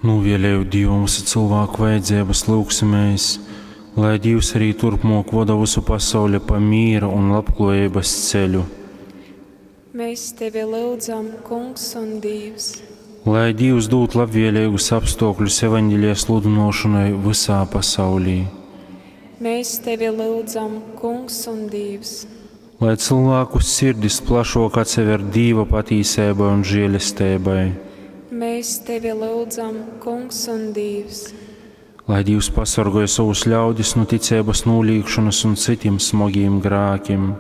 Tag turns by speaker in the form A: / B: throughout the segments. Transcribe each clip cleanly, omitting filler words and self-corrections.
A: Nūvēlējot Dīvam visu cilvēku vajadzības, lūgsimies, lai Dievs arī turpmāk voda visu pasauli pa mīra un labklājības ceļu.
B: Mēs tevi lūdzam, Kungs un Dievs.
A: Lai Dievs dod labvēlīgus apstākļus evaņģēlija sludināšanai visā pasaulī.
B: Mēs tevi lūdzam, Kungs un Dievs.
A: Lai cilvēku sirdis plašāk atsever Dieva patīsībai un žēlestībai.
B: Mēs tevi lūdzam, Kungs un Dievs.
A: Lai Dievs pasargāja savus ļaudis no ticības nolīgšanas un citiem smagiem grēkiem.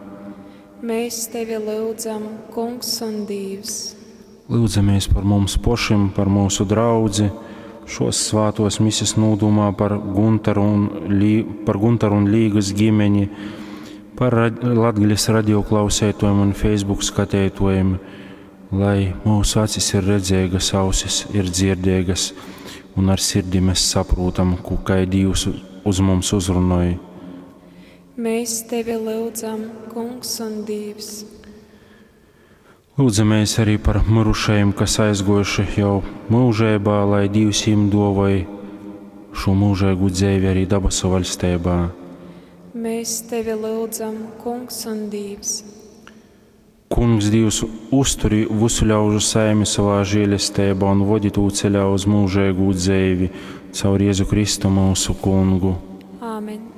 B: Mēs tevi lūdzam, Kungs un Dievs.
A: Lūdzamies par mums pašiem, par mūsu draudzi, šos svētos mises nūdumā par Guntaru un, Lī, par Guntaru un Līgas ģimeni, par Latgales radioklausētojiem un Facebook skatētojiem, lai mūsu acis ir redzīgas, ausis ir dzirdīgas, un ar sirdi mēs saprotam, ko kā Dievs uz mums uzrunāja.
B: Mēs tevi lūdzam, Kungs un Dievs.
A: Lūdzamies arī par mirušajiem, kas aizgojuši jau mūžībā, lai Dievs viņiem dāvāja šo mūžīgu dzīvi arī dabasu valstībā.
B: Mēs tevi lūdzam, Kungs un Dievs.
A: Kungs Dievs uzturi visu ļaužu saimi savā žēlestībā un vodi tū ceļā uz mūžīgu dzīvi caur Jēzu Kristu mūsu kungu.
B: Āmen.